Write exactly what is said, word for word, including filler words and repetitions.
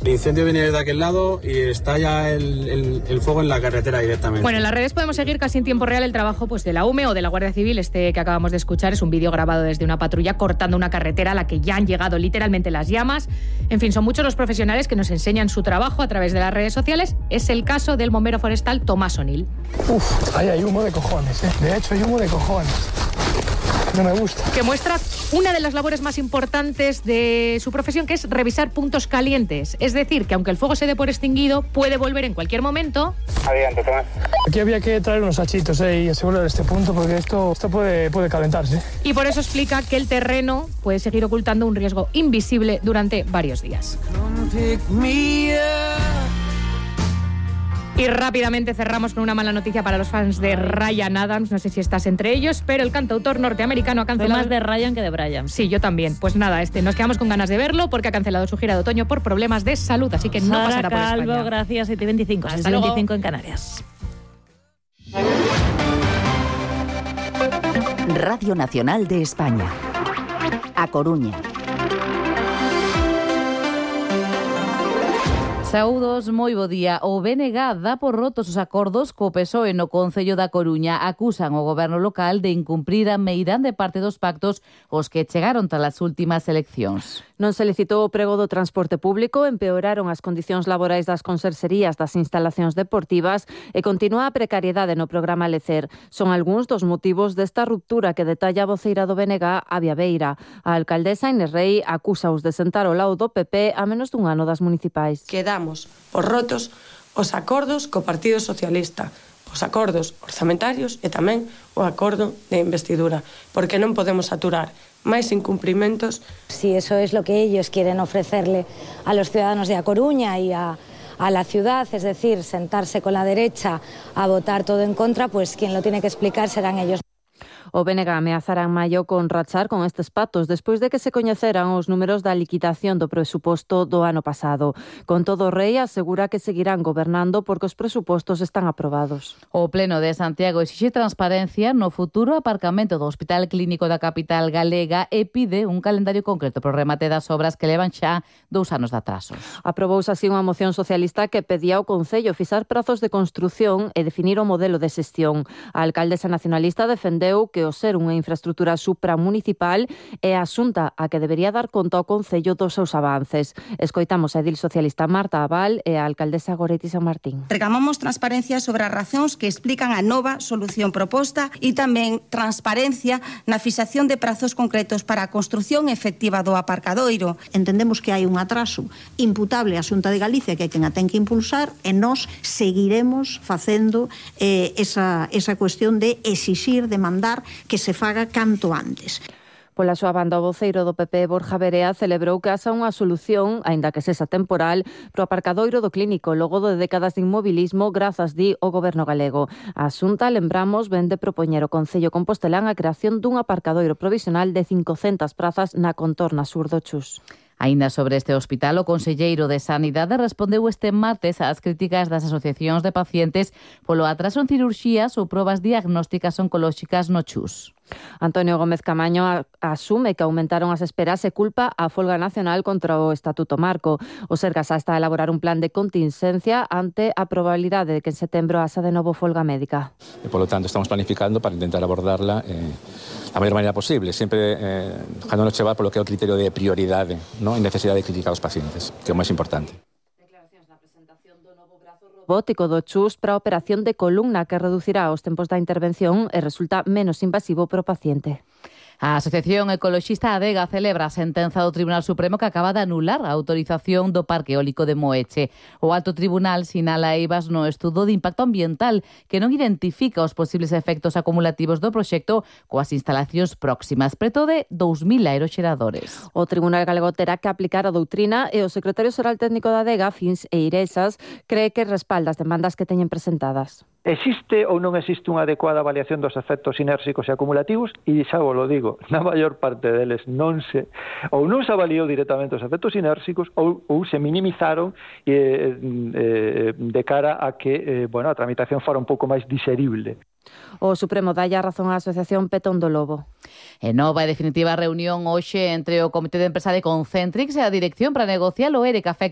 El incendio viene de aquel lado y está ya el, el, el fuego en la carretera directamente. Bueno, en las redes podemos seguir casi en tiempo real el trabajo pues, de la U M E o de la Guardia Civil. Este que acabamos de escuchar es un vídeo grabado desde una patrulla cortando una carretera a la que ya han llegado literalmente las llamas. En fin, son muchos los profesionales que nos enseñan su trabajo a través de las redes sociales. Es el caso del bombero forestal Tomás O'Neill. Uf, ahí hay humo de cojones, ¿eh? De hecho, hay humo de cojones. No me gusta. Que muestra una de las labores más importantes de su profesión, que es revisar puntos calientes. Es decir, que aunque el fuego se dé por extinguido, puede volver en cualquier momento. Adelante, Tomás. Aquí había que traer unos sachitos eh, y asegurar este punto, porque esto, esto puede, puede calentarse. Y por eso explica que el terreno puede seguir ocultando un riesgo invisible durante varios días. Y rápidamente cerramos con una mala noticia para los fans de Ryan Adams. No sé si estás entre ellos, pero el cantautor norteamericano ha cancelado... Más de Ryan que de Brian. Sí, yo también. Pues nada, este, nos quedamos con ganas de verlo porque ha cancelado su gira de otoño por problemas de salud, así que no Sara pasará por Calvo, España. Gracias, siete y veinticinco. Hasta luego. veinticinco en Canarias. Radio Nacional de España. A Coruña. Saúdos, moi bo día. O B N G dá por rotos os acordos co P S O E no Concello da Coruña. Acusan o goberno local de incumprir a meirande parte dos pactos os que chegaron tras as últimas eleccións. Non se licitou o prego do transporte público, empeoraron as condicións laborais das conserxerías das instalacións deportivas e continúa a precariedade no programa Lecer. Son algúns dos motivos desta ruptura que detalla a voceira do B N G, Avia Beira. A alcaldesa Inés Rei acusa-os de sentar ao lado do P P a menos dun ano das municipais. Quedamos por rotos os acordos co Partido Socialista, os acordos orzamentarios e tamén o acordo de investidura, porque non podemos aturar máis incumprimentos. Si eso es lo que ellos quieren ofrecerle a los ciudadanos de A Coruña y a, a la ciudad, es decir, sentarse con la derecha a votar todo en contra, pues quien lo tiene que explicar serán ellos. O B N G ameazará en maio con rachar con estes pactos despois de que se coñeceran os números da liquidación do presuposto do ano pasado. Con todo, Rei asegura que seguirán gobernando porque os presupostos están aprobados. O Pleno de Santiago exixe transparencia no futuro aparcamento do Hospital Clínico da capital galega e pide un calendario concreto pro remate das obras que levan xa dous anos de atrasos. Aprobouse así unha moción socialista que pedía ao Concello fixar prazos de construción e definir o modelo de xestión. A alcaldesa nacionalista defendeu que o ser unha infraestructura supramunicipal é a xunta a que debería dar conta ao Concello dos seus avances. Escoitamos a edil socialista Marta Abal e a alcaldesa Goretti San Martín. Reclamamos transparencia sobre as razóns que explican a nova solución proposta e tamén transparencia na fixación de prazos concretos para a construción efectiva do aparcadoiro. Entendemos que hai un atraso imputable á Xunta de Galicia que é quen a ten que impulsar e nós seguiremos facendo eh, esa, esa cuestión de exixir, demandar que se faga canto antes. Pola súa banda, o voceiro do P P, Borja Verea, celebrou que haxa unha solución, aínda que sexa temporal, pro aparcadoiro do clínico logo de décadas de inmobilismo grazas, di, o goberno galego. A Xunta, lembramos, ven de propoñer o Concello Compostelán a creación dun aparcadoiro provisional de cincocentas prazas na contorna sur do Chus. Aínda sobre este hospital, o conselleiro de Sanidade respondeu este martes ás críticas das asociacións de pacientes polo atraso en cirurxías ou probas diagnósticas oncolóxicas no Chus. Antonio Gómez Camaño asume que aumentaron as esperas e culpa a folga nacional contra o Estatuto Marco. O Sergas está a elaborar un plan de contingencia ante a probabilidade de que en setembro haxa de novo folga médica. E, polo tanto, estamos planificando para intentar abordarla eh, da maior maneira posible, sempre eh, dejándonos chevar polo que é o criterio de prioridade, ¿no? En necesidade de criticar aos pacientes, que é o máis importante. Robótico do Chus para a operación de columna que reducirá os tempos da intervención e resulta menos invasivo para o paciente. A Asociación Ecoloxista Adega celebra a sentenza do Tribunal Supremo que acaba de anular a autorización do Parque Eólico de Moeche. O Alto Tribunal sinala eivas no estudo de impacto ambiental que non identifica os posibles efectos acumulativos do proxecto coas instalacións próximas, preto de dous mil aeroxeradores. O Tribunal Galego terá que aplicar a doutrina e o secretario xeral técnico da Adega, Fins Eirexas, cree que respalda as demandas que teñen presentadas. Existe ou non existe unha adecuada avaliación dos efectos inérxicos e acumulativos? E xa vos lo digo, na maior parte deles non se ou non se avaliou directamente os efectos inérxicos ou, ou se minimizaron eh, eh, de cara a que eh, bueno, a tramitación fora un pouco máis diserible. O Supremo dalle a razón á Asociación Petón do Lobo. E nova e definitiva reunión hoxe entre o Comité de Empresa de Concentrix e a Dirección para negociar o ERE que afecta